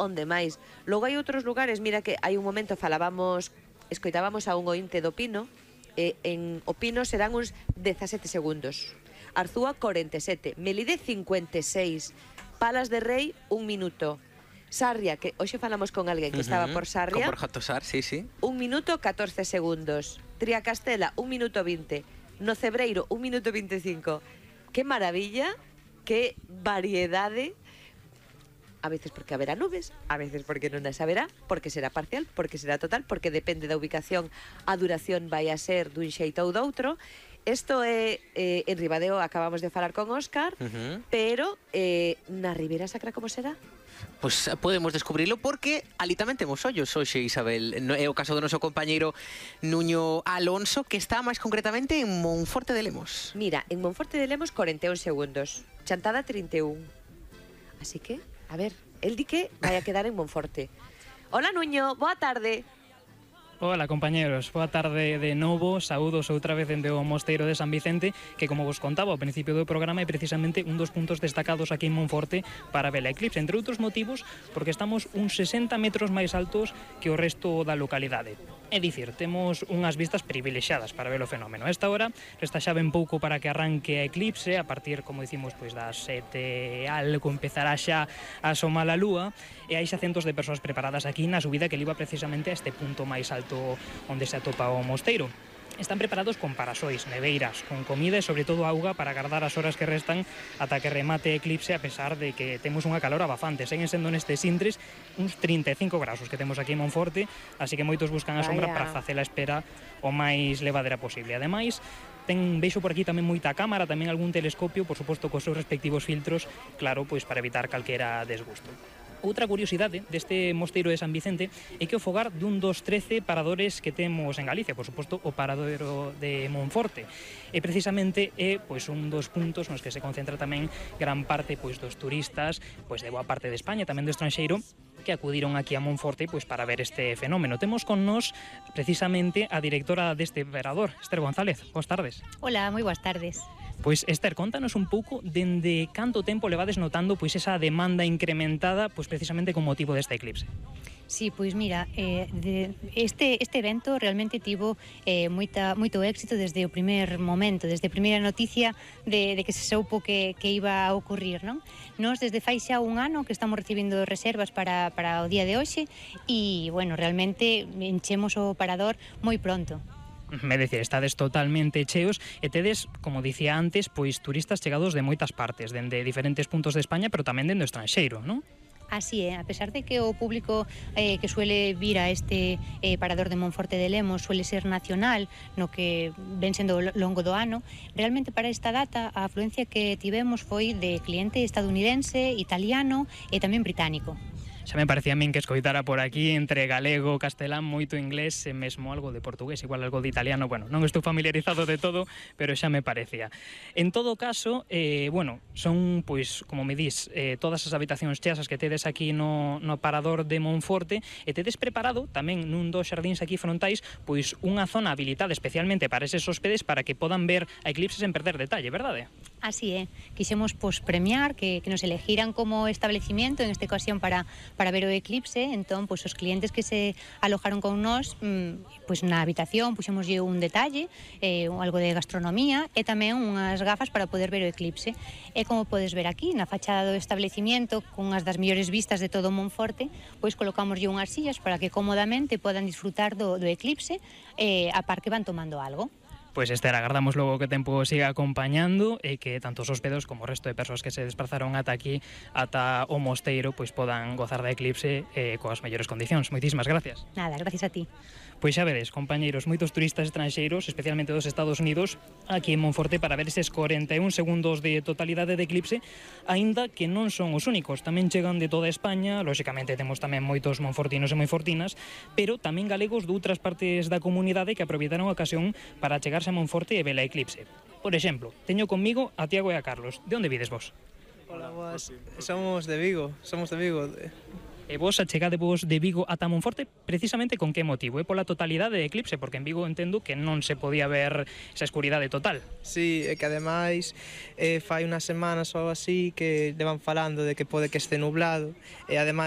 onde máis. Logo hai outros lugares, mira que hai un momento escoitábamos a un ointe do Pino, en o Pino serán uns 17 segundos. Arzúa 47, Melide 56, Palas de Rei 1 minuto. Sarria, que hoxe falamos con alguén que estaba por Sarria. Con Borja Tosar, sí. 1 minuto 14 segundos. Triacastela, 1 minuto 20. No Cebreiro, 1 minuto 25. Que maravilla, que variedade. A veces porque haberá nubes, a veces porque non as haberá, porque será parcial, porque será total, porque depende da ubicación, a duración vai a ser dun xeito ou doutro. Isto é en Ribadeo, acabamos de falar con Óscar, pero na Ribeira Sacra como será? Pois podemos descubrilo porque ali tamén temos ollos hoxe, Isabel. É o caso do noso compañeiro Nuño Alonso, que está máis concretamente en Monforte de Lemos. Mira, en Monforte de Lemos 41 segundos, Chantada 31. Así que, a ver, el di que vai a quedar en Monforte. Hola Nuño, boa tarde. Hola compañeros, boa tarde de novo, saúdos outra vez dende o Mosteiro de San Vicente, que como vos contaba ao principio do programa é precisamente un dos puntos destacados aquí en Monforte para ver a eclipse, entre outros motivos porque estamos uns 60 metros máis altos que o resto da localidade. É dicir, temos unhas vistas privilexiadas para ver o fenómeno. A esta hora resta xa ben pouco para que arranque a eclipse, a partir, como dicimos, pois das 7 algo empezará xa a asomar a lúa, e hai xa centos de persoas preparadas aquí na subida que liba precisamente a este punto máis alto onde se atopa o mosteiro. Están preparados con parasois, neveiras, con comida e sobre todo auga para agardar as horas que restan ata que remate a eclipse, a pesar de que temos unha calor abafante. Seguen sendo nestes intres uns 35 graus que temos aquí en Monforte, así que moitos buscan a sombra para facer a espera o máis levadera posible. Ademais, veixo por aquí tamén moita cámara, tamén algún telescopio, por suposto cos seus respectivos filtros, claro, pois para evitar calquera desgusto. Outra curiosidade deste mosteiro de San Vicente é que o fogar dun dos 13 paradores que temos en Galicia, por suposto o paradero de Monforte. E precisamente é pois un dos puntos nos que se concentra tamén gran parte pois dos turistas pois de boa parte de España, tamén do estranxeiro, que acudiron aquí a Monforte pois para ver este fenómeno. Temos con nós precisamente a directora deste parador, Esther González. Boas tardes. Hola, moi boas tardes. Pois Esther, contanos un pouco dende canto tempo levades notando pois esa demanda incrementada pois precisamente con motivo desta eclipse. Sí, pois mira, este evento realmente tivo moito éxito desde o primer momento, desde a primeira noticia de que se soupo que iba a ocurrir, non? Nós desde fai xa un ano que estamos recibindo reservas para o día de hoxe e, bueno, realmente enchemos o parador moi pronto. É dicir, estades totalmente cheos e tedes, como dicía antes, pois turistas chegados de moitas partes, dende diferentes puntos de España, pero tamén dende o estranxeiro, non? Así é, a pesar de que o público que suele vir a este parador de Monforte de Lemos suele ser nacional, no que ven sendo longo do ano, realmente para esta data a afluencia que tivemos foi de cliente estadounidense, italiano e tamén británico. Xa me parecía a min que escoitara por aquí entre galego, castelán, moito inglés e mesmo algo de portugués, igual algo de italiano. Bueno, non estou familiarizado de todo, pero xa me parecía. En todo caso, bueno, son, pois, como me dís, todas as habitacións cheas que tedes aquí no parador de Monforte, e tedes preparado tamén nun dos xardíns aquí frontais pois unha zona habilitada especialmente para eses hóspedes para que podan ver a eclipse sen perder detalle, verdade? Así é, quixemos premiar que nos elegiran como establecimiento, en esta ocasión para ver o eclipse. Entón, pois os clientes que se alojaron con nós, pois na habitación puxémoslle un detalle, algo de gastronomía e tamén unhas gafas para poder ver o eclipse. E como podes ver aquí, na fachada do establecimiento, con as das mellores vistas de todo Monforte, pois colocámoslle unhas sillas para que cómodamente podan disfrutar do eclipse a par que van tomando algo. Pois Esther, agardamos logo que o tempo siga acompañando e que tanto os hospedos como o resto de persoas que se desplazaron ata aquí, ata o mosteiro, pois podan gozar da eclipse coas mellores condicións. Moitísimas gracias. Nada, gracias a ti. Pois xa vedes, compañeiros, moitos turistas estranxeiros, especialmente dos Estados Unidos, aquí en Monforte para ver eses 41 segundos de totalidade de eclipse, aínda que non son os únicos, tamén chegan de toda España, lóxicamente temos tamén moitos monfortinos e monfortinas, pero tamén galegos de outras partes da comunidade que aproveitaron a ocasión para chegarse a Monforte e ver a eclipse. Por exemplo, teño conmigo a Tiago e a Carlos. De onde vides vos? Hola, boas. Somos de Vigo. E vos achegadevos de Vigo ata Monforte precisamente con que motivo? É pola totalidade de eclipse, porque en Vigo entendo que non se podía ver esa escuridade total. Sí, e que ademais fai unhas semanas ou así que levan falando de que pode que este nublado, e ademais